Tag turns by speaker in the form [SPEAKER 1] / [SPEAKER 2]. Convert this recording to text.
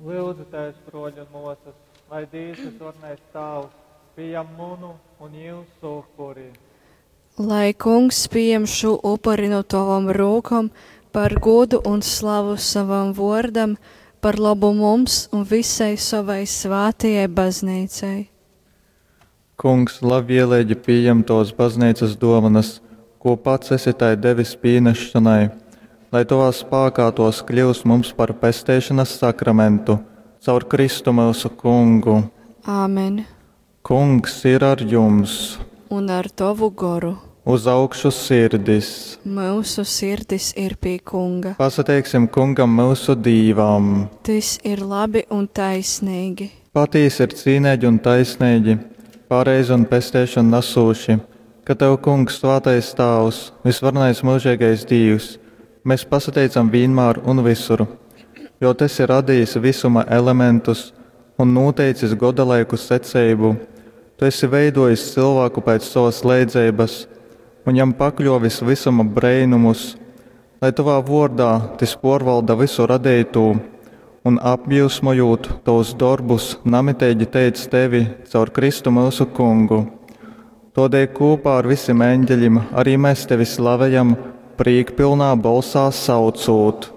[SPEAKER 1] Lyudzu tevis, bruoļi un muosys, lai Dīvs Vysvarenais Tāvs pījam munu un jūsu upuri.
[SPEAKER 2] Lai Kungs pieņem šo upuri no tavam rūkom par godu un slavu savam vārdam, par labu mums un visai savai svātajai baznīcai.
[SPEAKER 3] Kungs labvieleigi pījem tovas bazneicas duovanas, kū pats esi tai devis pīnesšonai, lai tovā spākā tuos kļyust mums par pesteišonas sakramentu caur Kristu myusu Kungu.
[SPEAKER 2] Āmen.
[SPEAKER 3] Kungs ir ar jums!
[SPEAKER 2] Un ar tavu goru.
[SPEAKER 3] Uz augšu sirdis!
[SPEAKER 2] Myusu sirdis ir pie Kunga.
[SPEAKER 3] Pasateiksim Kungam myusu Dīvam!
[SPEAKER 2] Tys ir labi un taisneigi.
[SPEAKER 3] Patīsi ir cīneigi un taisneigi, pareizi un pesteišonu nasūši, ka tev, Kungs, svātais Tāvs, vysvarenais myužeigais Dīvs, mes pasateicam vīnmār un vysur, jo tu esi radījis vysuma elementus un nūteicis godalaiku seceibu. Tu esi veidojis cylvāku pēc sovas leidzeibas un jam pakļōvis vysuma breinumus, lai tovā vōrdā tys pōrvalda vysu radeitū un apjyusmojūt tovus dorbus namiteigi teic tevi caur Kristu myusu Kungu. Tōdēļ kūpā ar vysim eņgeļim arī mes tevi slavejam, prīkpylnā bolsā saucūt.